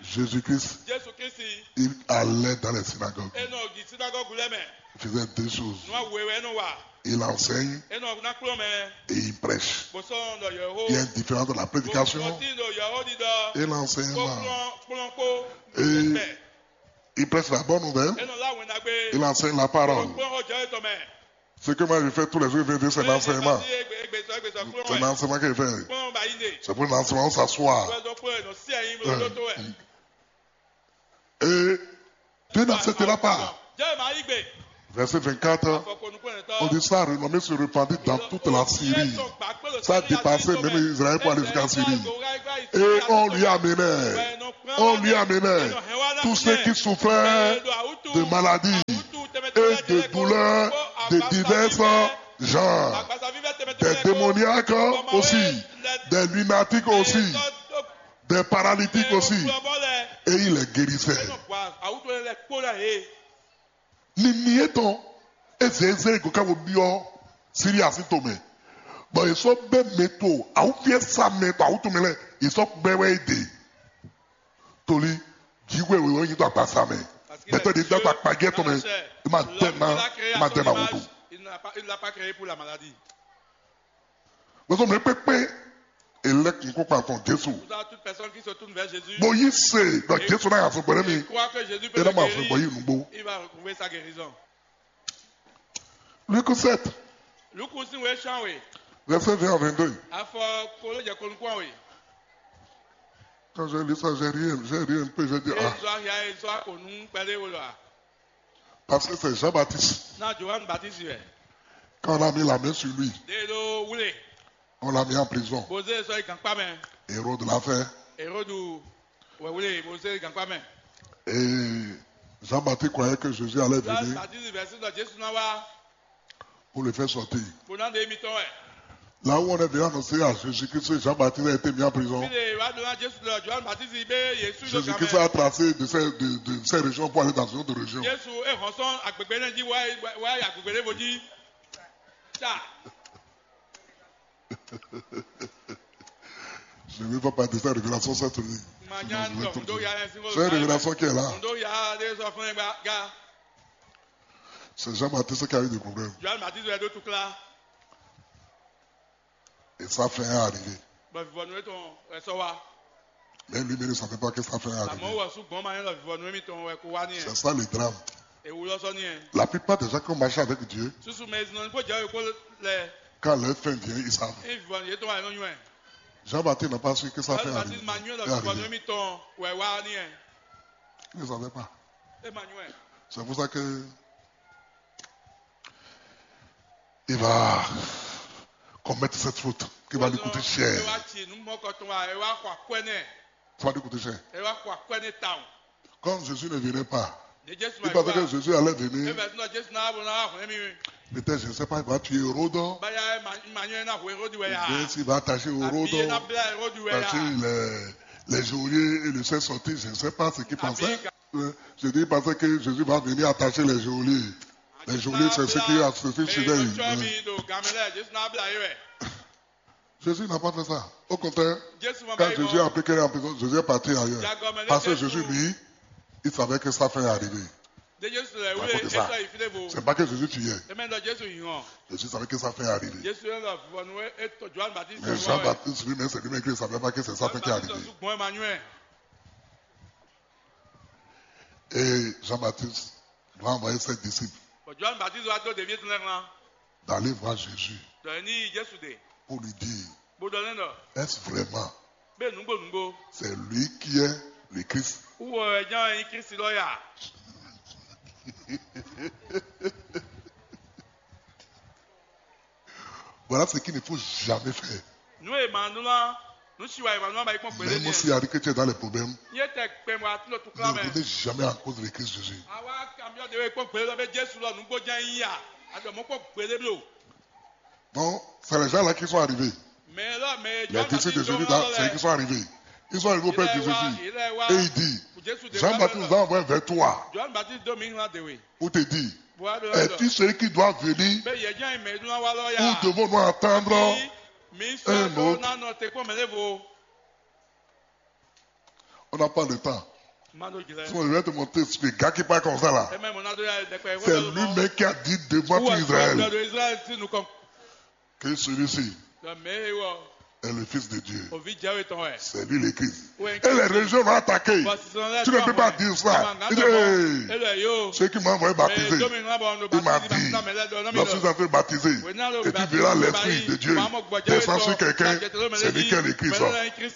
Jésus-Christ, il allait dans les synagogues. Il faisait deux choses. Il enseigne et il prêche. Il y a une différence entre la prédication et l'enseignement. Et il prêche la bonne nouvelle. Il enseigne la parole. Ce que moi je fais tous les jours, c'est l'enseignement. C'est l'enseignement que je fais. C'est pour l'enseignement, on s'assoit. Et Dieu n'acceptera pas. Verset vingt-quatre, on dit ça a renommé se répandit dans toute la Syrie. Ça a dépassé même Israël pour aller jusqu'en Syrie. Et on lui amenait, on lui amenait tous ceux qui souffraient de maladies et de douleurs de divers genres, des démoniaques aussi, des lunatiques aussi, des paralytiques aussi, et il les guérissait. Nini yětɔn é zě zé go ká vo byɔ́ Síria sín tomɛ, bɔ è sɔ́ bɛ́ mɛ to awúfíɛ́sá mɛ to awútomɛ lɛ́ɛ, è sɔ́ bɛ́ wɛ é ɖe. Tolí jǐxwé wěwé nyí dó agbaza mɛ. Gbɛtɔ́ ɖě dó agba kpají tɔn mɛ, é ma dɛ ná, é ma dɛ ná wutu. Bɔsɔ mɛ kpɛkpɛ, elect nkókpantɔn Jésù. Toute personne qui se tourne vers Jésus, bó yí se ɖɔ Jésù náà yà sɔgbɔ nɛ́ mi. Croit que Jésus peut le guérir, é ná ma sɔgbɔ yí nùgbó. Il va retrouver sa guérison. Luc sept, Luku sín wěxán wě, verset vingt à vingt-deux. Afɔ kolo jɛ ko nukún wě. Quand j'ai lu ça, j'ai ri, j'ai ri un peu, j'ai dit, ah. Zɔ ahia e zɔ ako nú kpɛɖé wo lɔ a? Parce que c'est Jean-Baptiste. Na Johanne Baptiste wɛ. Quand on a mis la main sur lui, de ɖo wlé, on l'a mis en prison. Bozé sɔ yi gankpá mɛ. Hérode l'a fait. Herodu wɛ wlé bozé gankpá mɛ. Et Jean-Baptiste croyait que Jésus allait venir. Baptiste vɛ sí ɖɔ Jésù ná wá. Pour le faire sortir. Bó ná ɖe émi tɔn wɛ. Là où on est venu annoncer à Jésus-Christ que Jean-Baptiste a été mis en prison, fí ɖe wá ɖó ná Jesu ɖɔ Johan Batisi bé Yesu ɖo Jésus-Christ a tracé de ces, de, de ces régions pour aller dans une autre région. Jesu é hɔn sɔn agbègbè énɛ́ jí wá wá agbègbè ɖěvo jí. Ta. Je ne vais pas parler de cette révélation cette nuit. Manya Sinon, je vais ŋutɔ tout ŋdó dire. Ya lɛ sín C'est une révélation qui est là. Ŋdó ya ɖé sɔ fún ẹ gba ga. C'est Jean-Baptiste qui a eu des problèmes. Johan Batisi wɛ ɖó tukla. Et sa fin est arrivée. Bɔ vivɔnu etɔn wɛ sɔ wá. Mais lui-même ne savait pas que sa fin est arrivée. Àmọ́ wɔ sú gbɔn ma nyɛ lɔ vivɔnu émi tɔn wɛ kó wá ní ɛ. C'est ça le drame. Ewu lɔ sɔ ní ɛ. La plupart des gens qui ont marché avec Dieu, susu mɛ ezinɔ ní kó jɛ wɛ kó lɛ. Quand leur fin vient, ils savent. Ní vivɔnu yétɔn wà nínú ɛ. Jean-Baptiste n'a pas su que sa fin est arrivée. Baptiste ma nyɔ lɔ vivɔnu émi tɔn wɛ wá ní ɛ. Il ne savait pas. É ma nyɔ ɛ. C'est pour ça que il va commettre cette faute qui va lui coûter cher. Ɛ wá ci nú mɔkɔ tɔn wa ɛ wá xɔ akwɛ nɛ. Ça va lui coûter cher. Ɛ wá xɔ akwɛ nɛ tawun. Quand Jésus ne venait pas, il pensait que Jésus allait venir. Ebe sínú Jésù náà bọ̀ náà hwẹ́ mi. Peut-être, je ne sais pas, il va tuer Hérode. Báyà ẹ ma nyɔ ẹ náà hwẹ́ Hérode wẹ́ yá. Bien s'il va attacher Hérode, attacher les, les geôliers et le faire sortir, je ne sais pas ce qu'il pensait. Euh, je dis, il pensait que Jésus va venir attacher les geôliers. Les geôliers, c'est ce qui a suivi chez eux. Jésus n'a pas fait ça. Au contraire, quand Jésus a appris qu'il est en prison, Jésus est parti ailleurs. Parce que Jésus, lui, il savait que sa fin est arrivée. C'est pas que Jésus tuait. Jésus savait que sa fin est arrivée. Mais Jean-Baptiste lui-même, c'est lui-même qui ne savait pas que c'est sa fin qui est arrivée. Et Jean-Baptiste va envoyer ses disciples. Bɔ Johan Baptiste wá dó ɖeví étɔn lɛ́ɛ wlán. D'aller voir Jésus. Ɖɔ é ní yi Jésù ɖe. Pour lui dire, bó ɖɔ lɛ́ ɖɔ, est-ce vraiment, bɛ́ nǔgbó nǔgbó, c'est lui qui est le Christ? Wú wɔ wɛ ján wɛ nyí Kristi lɔ ya? Voilà ce qu'il ne faut jamais faire. Nǔ e ma nú lá nú si wa yi ma nú ama yi kpɔn gběɖé. Même si Harry Kétié dans les problèmes, nyɛ tɛ kpɛn wa tún lɔ tukla mɛ. Ne revenez jamais en cause de Christ Jésus. Awa kamiɔ de we kpɔn gběɖé lɔ bɛ Jésù lɔ nǔgbó ján yí ya. Adɔ mɔ kpɔn gběɖé blo. Donc, c'est les gens là qui sont arrivés. Mais là, mais les disciples de Jésus, c'est eux qui sont arrivés. Ils sont arrivés auprès de Jésus. Et il dit, Jean-Baptiste nous a envoyé vers toi. Johan Baptiste do mi ŋlá de we. Pour te dire, es-tu celui qui doit venir? Ou devons-nous attendre un autre? On n'a pas le temps. Sinon, je vais te montrer ce gars qui parle comme ça là. C'est lui-même qui a dit devant tout Israël que celui-ci est le Fils de Dieu. C'est lui le Christ. Et les régions l'ont attaqué. Tu ne peux pas dire ça. Il dit, hey, ceux qui m'ont envoyé baptiser, il m'a dit, lorsque vous avez baptisé, et tu verras l'Esprit de Dieu descend sur quelqu'un, c'est lui qui est le Christ.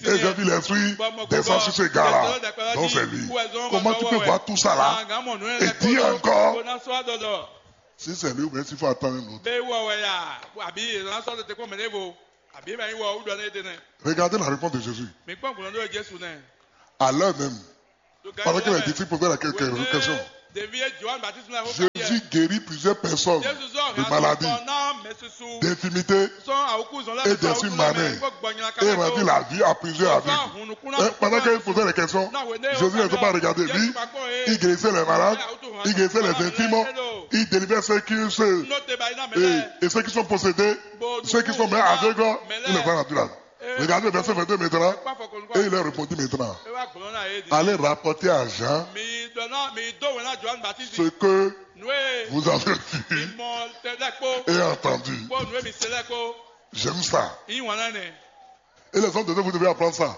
Et j'ai vu l'Esprit descend sur ce gars-là. Donc c'est lui. Comment tu peux voir tout ça là et dire encore si c'est lui ou bien s'il faut attendre un autre? Bɛ wɔ wɛ ya, abi yɛlɛla sɔ tete kpɔn mɛ ne vo, abi ma yi wɔ wudɔ ne de nɛ. Regardez la réponse de Jésus. Mi kpɔn gbɔn do Jesu nɛ. À l'heure même, pendant que les disciples posaient la que- que- question, Devi ye Johan Baptiste na ko Jésus guérit plusieurs personnes de maladies, d'infirmités et d'esprit malin, et rendit la vie à plusieurs aveugles. Hein, pendant qu'il posait les questions, Jésus ne s'est pas regardé. Lui, il guérissait les malades, il guérissait les infirmes, il délivrait ceux qui se, et, et ceux qui sont possédés, ceux qui sont même aveugles, il les a rendus là. Regardez le verset vingt-deux maintenant, et il leur répondit maintenant, allez rapporter à Jean ce que vous avez vu et entendu. J'aime ça. Et les hommes de Dieu, vous devez apprendre ça.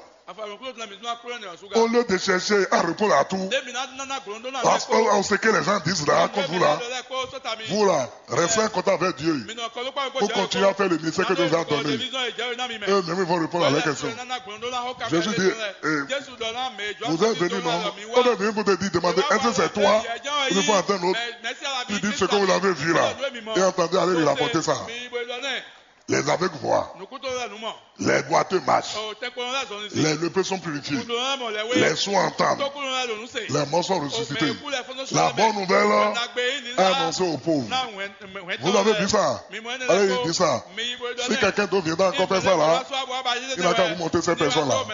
Au lieu de chercher à répondre à tout, à, à ce que les gens disent là, comme vous là, vous là, restez en contact avec Dieu. Vous continuez à faire le ministère que Dieu vous a donné. Eux-mêmes, ils vont répondre à la question. Jésus dit, eh, vous êtes venus, non? On est venu pour te dire, demander, est-ce que c'est toi? Il faut attendre un autre. Tu dis ce que vous avez vu là. Et entendu, allez lui rapporter ça. Les aveugles voient. Nukúntɔ́ lɛ́ɛ nǔ mɔ. Les boiteux marchent. O tɛkpɔnɔ lɛ́ɛ zɔn ní sí. Les lépreux sont purifiés. Kundun lɛ́ɛ mɔ lɛ́ wé. Les sourds entendent. Tókúnɔ lɛ́ɛ ɖo nǔ se. Les morts sont ressuscités. Mɛ kú lɛ́ɛ fɔ́n sɔ́. La bonne nouvelle annoncée aux pauvres. Vous avez vu ça? Allez, dis ça. Si quelqu'un d'autre vient encore faire ça là, il n'a qu'à vous montrer cette personne-là.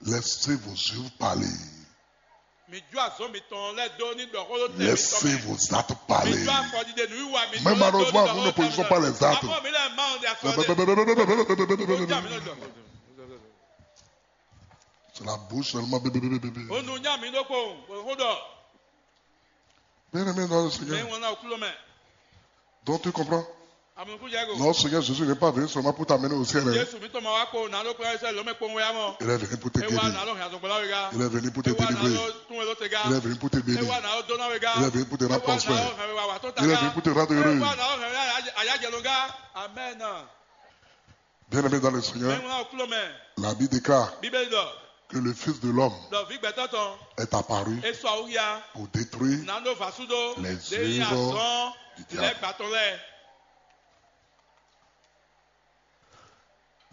Laissez vos yeux parler. Mi jó azɔn mitɔn lɛ́ɛ dó ní ɖɔ xó ɖó tɛn mitɔn Laissez mɛ. Vos actes parler. Mi jó afɔdide nǔwiwa mitɔn Mais lɛ́ɛ dó ní malheureusement, ɖɔ nous xó ne produisons pas les actes. Afɔ mi lɛ́ɛ ma ɔ́ ɖe afɔ ɖe. C'est la bouche seulement. Bébé, bébé, bébé. O nu nya mi ɖokpó, bó xó ɖɔ. Bien-aimé dans le Seigneur. Mɛ ŋlɔ́ ná o kúló mɛ. Donc tu comprends? Amukújɛgo. Non, Seigneur Jésus n'est pas venu seulement pour t'amener au ciel, hein. Jésù mi tɔmɔ wá kó nalo kplɔ́n ɛsɛ lɔmɛ kpɔn wɛ amɔ. Il est venu pour te guérir. Ewa nalo hɛn azɔgbɔla wega. Il est venu pour te délivrer. Ewa nalo tún welo tega. Il est venu pour te bénir. Ewa nalo dona wega. Il est venu pour te rendre prospère. Ewa nalo hɛn wa wa tɔn taga. Il est venu pour te rendre heureux. Ewa nalo hɛn wa ayajɛloga. Amen. Bien-aimé dans le Seigneur, mɛ ŋlɔ́ kúló mɛ. La Bible déclare Bíbélì ɖɔ que le Fils de l'homme ɖɔ vǐ gbɛtɔ́ tɔn est apparu é sɔ awúya pour détruire nánú vǎsúdó les œuvres du diable. Lɛ́gbà tɔn lɛ́ɛ.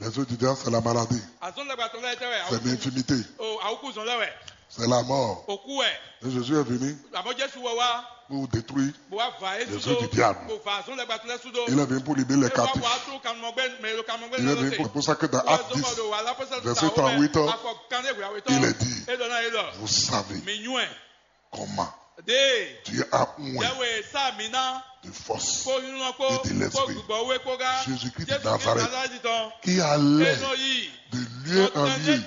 Les œuvres du diable, c'est la maladie, azɔn lɛ́gbà tɔn lɛ́ɛ tɛ wɛ c'est l'infirmité, o awúkúzɔn lɛ́ wɛ, c'est la mort. Òkú wɛ. Et Jésus est venu àmọ́ Jésù wɔ wá pour détruire bó wá va les œuvres du diable. Bó va azɔn lɛ́gbà tɔn lɛ́ɛ súdó. Il est venu pour libérer les captifs. Wá tún kanumɔgbɛ mɛ lo kanumɔgbɛ. Il est venu pour, c'est pour ça que dans Actes dix, verset trente-huit, il est dit, vous savez comment Dieu a oint de force et de l'esprit Jésus-Christ de Nazareth, qui allait de lieu en lieu,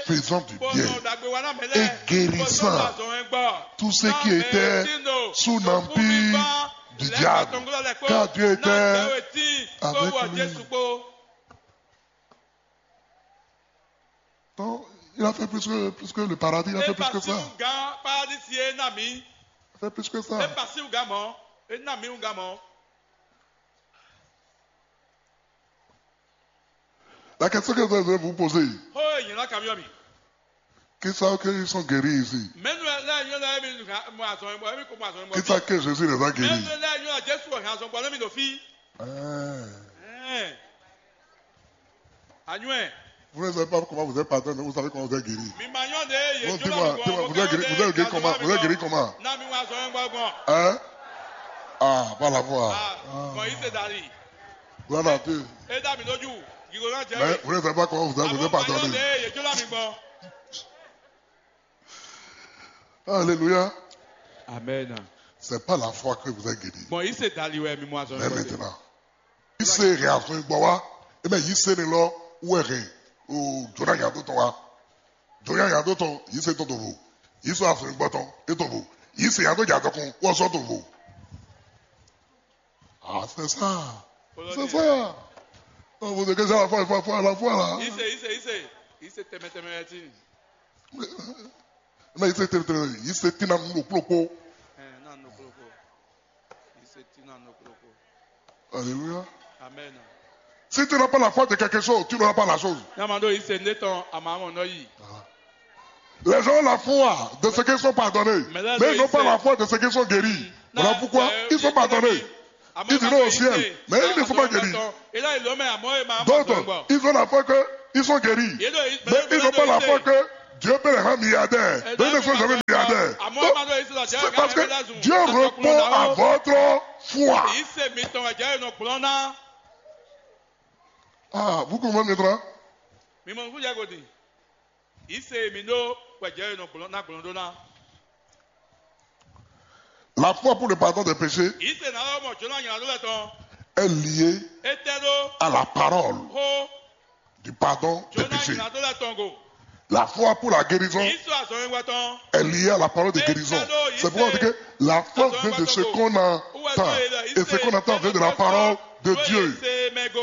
faisant du bien et guérissant tous ceux qui étaient sous l'empire du diable, car Dieu était avec lui. Donc, il a fait plus que, plus que le paradis, il a fait plus que ça. Il a fait plus que ça. La question que je vais vous poser, qui savent qu'ils sont guéris ici? Qui savent que Jésus les a guéris? Hein. Vous ne savez pas comment vous êtes pardonné, vous savez comment vous êtes guéri. Bon, dis-moi, dis-moi, vous êtes guéri, vous êtes guéri comment? Vous êtes guéri comment? Hein? Ah, par la foi. Voilà, tu. Mais vous ne savez pas comment vous êtes, vous êtes pardonné. Alléluia. Amen. C'est par la foi que vous êtes guéri. Bon, il s'est dali ouais, mais moi, mais maintenant, il s'est réaffirmé. Bon, ouais. Eh bien, il s'est le lo ouais. Oh, Jonah y a d'autres, ouais. Jonah y a d'autres, il s'est tout vous. Il s'est affirmé bâton et tout vous. Il s'est y a d'autres, y a d'autres, on s'en tout vous. Ah, c'est ça. C'est ça. Non, vous êtes déjà à la foi, à la foi, à la foi, là. Ise, ise, ise. Ise tɛmɛ tɛmɛ yɛ ti. Mais il s'est, il s'est tiré dans le clopo. Ɛ, na nɔ kplɔkplɔ. Ise ti na nɔ kplɔkplɔ. Alléluia. Amen. Si tu n'as pas la foi de quelque chose, tu n'auras pas la chose. N'a ma ɖo ise ne tɔn a ma mɔ nɔ yi. Les gens ont la foi de ce qu'ils sont pardonnés, mais ils n'ont pas la foi de ce qu'ils sont guéris. Voilà pourquoi ils sont pardonnés. Ils iront au ciel, mais ils ne sont pas guéris. D'autres, ils ont la foi qu'ils sont guéris, mais ils n'ont pas la foi que Dieu peut les rendre milliardaires. Mais ils ne sont jamais milliardaires. Donc, c'est parce que Dieu répond à votre foi. Ah, vous comprenez maintenant? Mi mɔ nukúnjɛ godi. Ise mi ɖó wɛ jɛ nɔ gblɔn ná gblɔn ɖó ná. La foi pour le pardon des péchés Ise ná lɔ mɔ jǒnɔ nyina ɖó lɛ tɔn. Est liée Etɛ ɖó à la parole xó du pardon des jǒnɔ péchés. Nyina ɖó lɛ tɔn go. La foi pour la guérison Ise azɔn yɛn tɔn. Est liée à la parole de guérison. C'est pourquoi on dit que la foi vient de ce qu'on entend. Et ce qu'on entend vient de la parole de Dieu.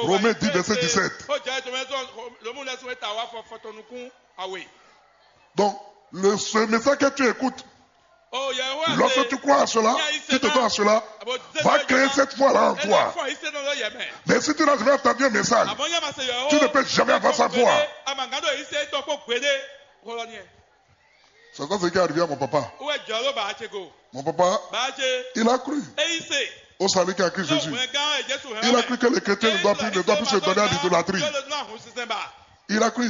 Romains dix, verset dix-sept. Ó jẹ́ ètò mẹ́tọ́ lómú lẹ́sùn mẹ́ta wá fọ fọtọ nukún àwẹ̀. Donc, le, ce message que tu écoutes, lorsque tu crois à cela, tu te donnes à cela, va créer cette foi-là en toi. Mais si tu n'as jamais entendu un message, tu ne peux jamais avoir sa foi. C'est ça ce qui est arrivé à mon papa. Mon papa, il a cru. Au salut qu'a cru Jésus. Il a cru que les chrétiens ne doivent plus, ne doivent plus se donner à l'idolâtrie. Il a cru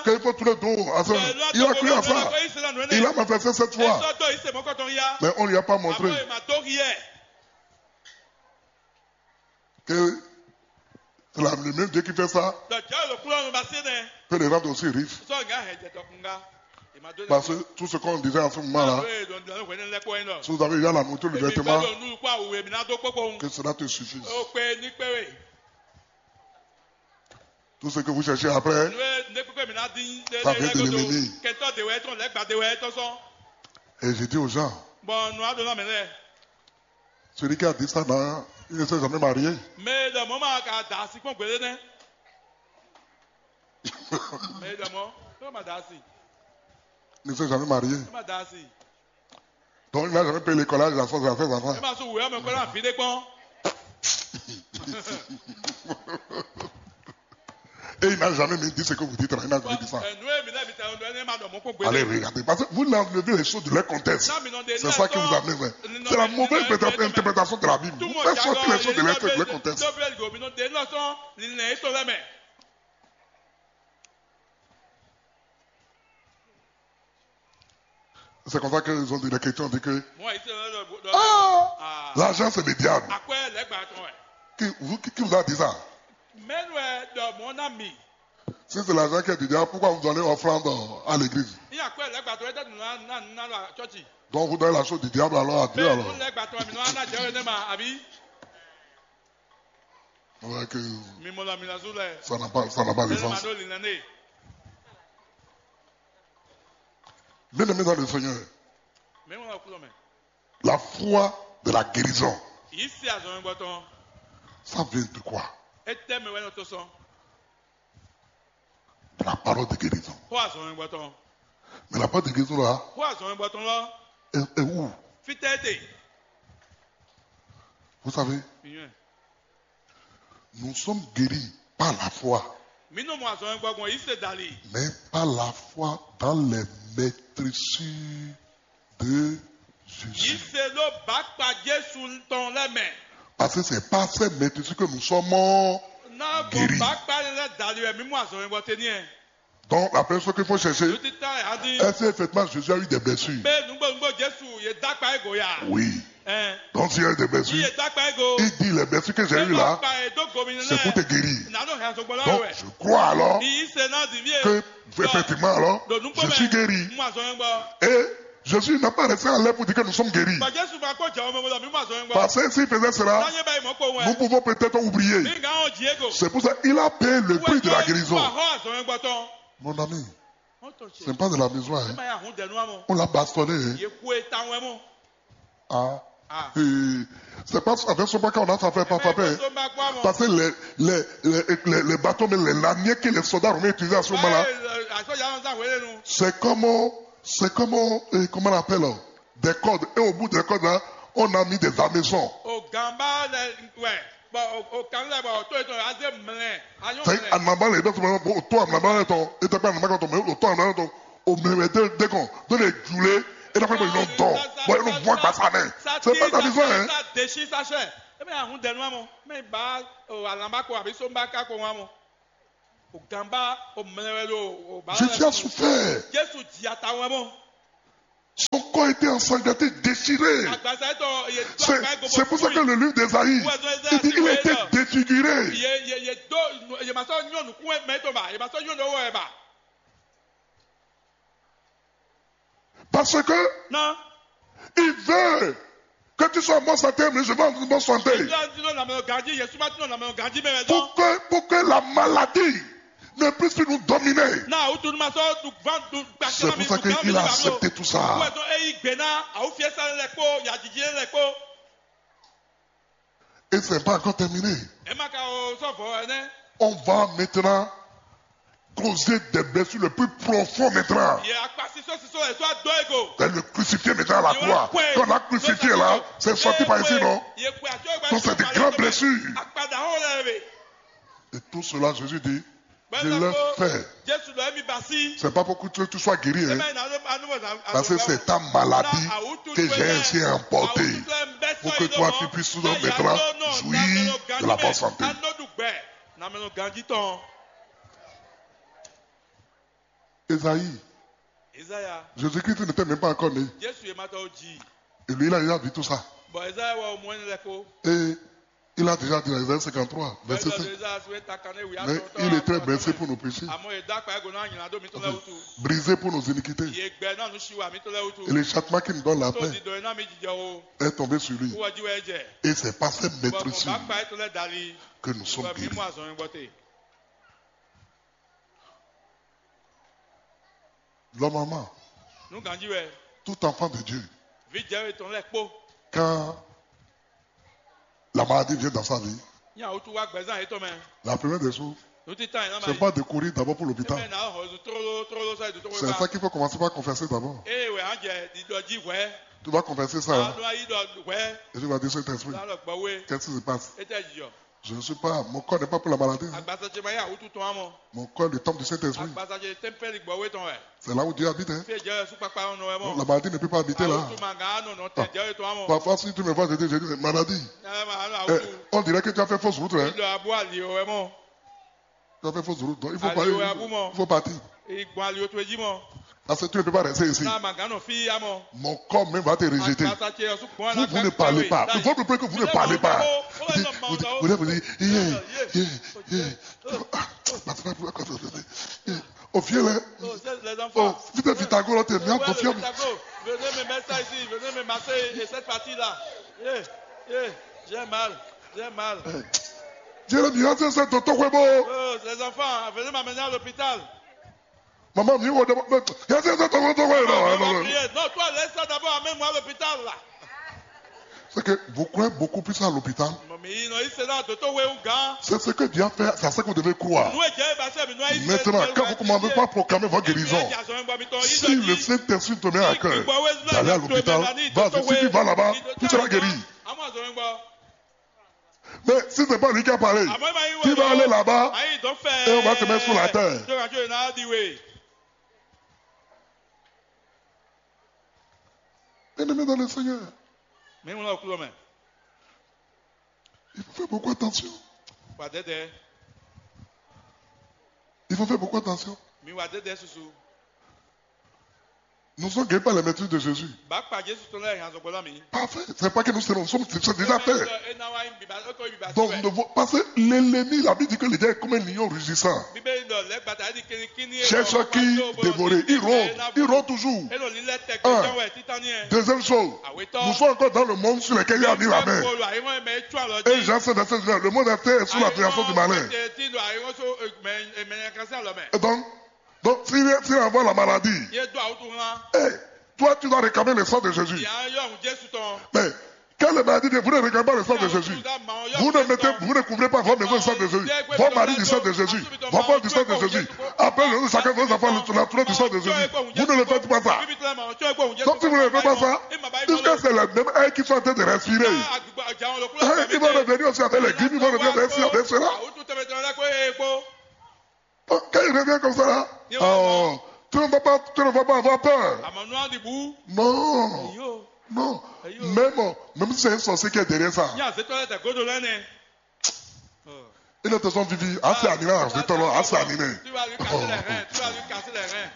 qu'il faut tous les dons à ça. Il a cru à ça. Il a manifesté cette foi. Mais on ne lui a pas montré que c'est la- le même Dieu qui fait ça peut les rendre aussi riches. Parce que tout ce qu'on disait en ce moment-là, si vous avez déjà la mouture du vêtement, que cela te suffise. Tout ce que vous cherchez après, ça vient de l'ennemi. Et je dis aux gens, celui qui a dit ça, là, il ne s'est jamais marié. Mɛ e ɖɔ mɔ̌ ma ka da asi kpɔ́n gbeɖé nɛ́. Mɛ e ɖɔ mɔ̌, é ma da asi. Il ne s'est jamais marié. É ma da asi. Donc, il n'a jamais payé l'école à la source de ses enfants. É ma sú wǔ ɔ́ mɛ kpɔ́n ná vǐ ɖé kpɔ́n. Et il n'a jamais mis dit ce que vous dites là. Il n'a jamais dit ça. Ɛ, nǔ e mi lɛ́ mi ta ɔ́, é ma ɖɔ mɔ̌ kpɔ́n gbeɖé. Allez, regardez. Parce que vous enlevez les choses de leur contexte. C'est ça qui vous amène. C'est la mauvaise interprétation de la Bible. Vous faites sortir les choses de leur, de leur contexte. C'est comme ça qu'ils ont dit, les chrétiens ont dit que l'argent, c'est le diable. Qui, vous, qui, qui vous a dit ça? Mɛnu ɛ ɖɔ mɔ̌ ná mi. Si c'est l'argent qui est du diable, pourquoi vous donnez offrande à l'église? Ní akwɛ́ lɛ́gbàtɔ ɛ tɛ́ nù ná ná ná lɔ acɔ́ci. Donc vous donnez la chose du diable alors à Dieu alors. Lɛ́gbàtɔ mi nɔ ná jẹ́ wɛ nɛ ma àbí? Ouais, que Mi mɔ lɔ mi ná zú lɛ. Ça n'a pas, ça n'a pas de sens. Lɛ ma ɖó lǐnlɛ́n nɛ. Bien-aimés dans le Seigneur, Mɛ mɔ lɔ kúlɔ mɛ. La foi de la guérison, Yǐ sí azɔn gbɔtɔn. Ça vient de quoi? Étɛ́ mɛ wɛ nɔ tó sɔn. De la parole de guérison. Xó azɔn gbɔtɔn. Mais la parole de guérison là, Xó azɔn gbɔtɔn lɔ. Est, est où? Fítɛ́ é te. Vous savez, Miyɔn. Nous sommes guéris par la foi, Mi nɔ mɔ azɔn gbɔgbɔn yǐ se dali. Mais par la foi dans les maîtresses de Jésus. Yise ló bǎkpa Jesu tɔn lɛ́ mɛ. Parce que c'est par ces maîtresses que nous sommes guéris. Ná bɔ bǎkpa lɛ dali wɛ mí mú azɔn e bɔ te ní ɛ. Donc la première chose qu'il faut chercher, Lutita adi. Est-ce qu'effectivement Jésus a eu des blessures? Bɛ nugbo nugbo Jesu ye dakpa e goya. Oui. Ɛn. Donc s'il y a eu des blessures, Iye dakpa e go. Il dit les blessures que j'ai eues là, c'est pour te guérir. Nanu hɛn sɔgbɔ la Donc wɛ. Je crois alors Ni yise na di vie. Que effectivement alors, je suis guéri. Mu azɔn gbɔ. Et Jésus n'a pas resté en l'air pour dire que nous sommes guéris. Ba Jesu ma kpɔ jɛ wɔn mɛ bɔ mi mu azɔn gbɔ. Parce que s'il faisait cela, N'anye ba yi mɔ kpɔ wɛ. Nous pouvons peut-être oublier. Mi gan o Diego. C'est pour ça qu'il a payé le prix de la guérison. Wɛ azɔn gbɔ tɔn. Mon ami, ce n'est pas de la maison, hein. Ma ya hun dɛnu amɔ. On l'a bastonné, hein. Ye kue ta wɛ mɔ. Ah. Ah. Et c'est pas avec son bac qu'on a frappé, pas frappé. Parce que les, les, les, les, les bâtons, mais les lanières que les soldats romains utilisaient à ce moment-là, c'est comme, c'est comme, euh, comment on appelle, des cordes. Et au bout des cordes, là, on a mis des hameçons. O gamba lɛ wɛ, bɔn o kan lɛ bɔ o to etɔn aze mlɛ, anyɔ C'est mlɛ. En avant les deux, bon, au toit, en avant les deux, et t'as pas en avant quand on met au toit, en avant, au milieu des deux cons, dans les djoulés, et d'après moi, ils ont tort. Bon, ils vont voir ça, mais c'est pas ta maison, hein. Sa desi sa sɛ. E bɛ ahun dɛnu amɔ, mɛ ba o alamba ko abi somba ka ko amɔ. O gamba o mlɛ wɛ lo o ba. Jésus a souffert. Jesu di ata wɛ mɔ. Son corps était ensanglanté, déchiré. Agbasa etɔ ye do C'est akpa ego c'est pour ça que le livre d'Ésaïe, il dit il était défiguré. Ye ye ye do ye ma sɔ nyɔ nukun mɛ to ba ye ma sɔ nyɔ nɔwɔ ba. Parce que Non. Il veut que tu sois en bonne santé, mais je vais en bonne santé. Yesu ati nɔ lamɛ ganji, Yesu ma ti nɔ lamɛ ganji mɛ wɛ Pour dɔn. Que, pour que la maladie ne puisse plus nous dominer. Na o tunu ma sɔ du van du gbasi C'est ma mi pour ça du kan qu'il mi a ba accepté tout ça. Wɛ dɔn eyi gbe na awo fiɛ sa lɛ kpo yajiji lɛ kpo. Et c'est pas encore terminé. Ɛ ma ka o sɔ vɔ ɛnɛ. On va maintenant causer des blessures les plus profondes maintenant. Ye akpa siso siso ɛ tó a dɔ ego. C'est le crucifié maintenant à la croix. Quand on a crucifié là, c'est sorti par ici, non? Donc c'est des grandes blessures. Akpa da hɔn lɛ be. Et tout cela, Jésus dit, je l'ai fait. Jesu lɔ emi basi. C'est pas pour que tu, tu sois guéri, hein. Parce que c'est ta maladie que j'ai ainsi emportée. Pour que toi, tu puisses maintenant jouir de la bonne santé. Jésus-Christ n'était même pas encore né. Et lui, il a déjà vu tout ça. Et il a déjà dit dans Isaïe cinquante-trois, verset sept. Mais il était blessé pour nos péchés, brisé pour nos iniquités. Et le châtiment qui nous donne la paix est tombé sur lui. Et c'est par cette meurtrissure que nous sommes guéris. Normalement, tout enfant de Dieu, quand la maladie vient dans sa vie, la première des choses, c'est pas de courir d'abord pour l'hôpital. C'est ça qu'il faut commencer par confesser d'abord. Tu vas confesser ça, hein. Et tu vas dire, Saint-Esprit, qu'est-ce qui se passe? Je ne suis pas, mon corps n'est pas pour la maladie, hein. Mon corps est le temple du Saint-Esprit. C'est là où Dieu habite, hein. Donc, la maladie ne peut pas habiter là. Parfois, si tu me vois, je dis, je dis, maladie, eh, on dirait que tu as fait fausse route, hein. Tu as fait fausse route. Donc, il faut partir. Parce que tu ne peux pas rester ici. Mon corps même va te rejeter. Vous, vous ne parlez pas. Il faut me que vous ne parlez pas. Vous dites, vous dites, vous dites, vous dites, yeah, yeah, yeah. Ah, au fiel, hein. Oh, vite, vite, à gauche, là, t'es bien confiant. Venez me mettre ça ici, venez me masser et cette partie-là. Yeah, yeah, j'ai mal, j'ai mal. Jérémie, c'est ça, tonton Webo. Oh, les enfants, venez m'amener à l'hôpital. Maman, mi wɔ dama, yasi yasi tɔgɔ tɔgɔ yɛ nɔ. Non, non, non. Non, toi, laisse ça d'abord, amène-moi à l'hôpital là. C'est que vous croyez beaucoup plus à l'hôpital. C'est ce que Dieu a fait, c'est à ça que vous devez croire. Maintenant, quand vous commencez par proclamer votre guérison, si le Saint-Esprit te met à cœur d'aller à l'hôpital, vas-y, si tu vas là-bas, tu seras guéri. Mais si c'est pas lui qui a parlé, qui va aller là-bas et on va te mettre sous la terre. Bien-aimé dans le Seigneur, il faut faire beaucoup attention. Il faut faire beaucoup attention. Nous sommes guéris par les maîtrises de Jésus. Parfait. C'est pas que nous serons, nous sommes, c'est déjà fait. Donc, ne vo-, parce que l'ennemi, la Bible dit que le diable est comme un lion rugissant. Cherche qui dévorer. Il rôde, il rôde toujours. Un. Deuxième chose, nous sommes encore dans le monde sur lequel il a mis la main. Et Jean sept, verset dix-neuf, le monde entier est sous la domination du malin. Et donc, donc, s'il, s'il envoie la maladie, eh, toi, tu dois réclamer le sang de Jésus. Mais quand les maladies viennent, vous ne réclamez pas le sang de Jésus. Vous ne mettez, vous ne couvrez pas votre maison du sang de Jésus. Votre mari du sang de Jésus. Votre femme du sang de Jésus. Après, le chacun de vos enfants, la tournée du sang de Jésus. Vous ne le faites pas ça. Donc, si vous ne le faites pas ça, jusqu'à c'est les mêmes airs qui sont en train de respirer. Hein, ils vont revenir aussi avec les grippes, ils vont revenir avec ceci, avec cela. Quand il revient comme ça là, oh, tu ne vas pas, tu ne vas pas avoir peur. Non, non. Même, même si c'est un sorcier qui est derrière ça, il a besoin de vivre. Ah, c'est animé, c'est tolo, ah, c'est animé. Tu vas lui casser les reins, tu vas lui casser les reins.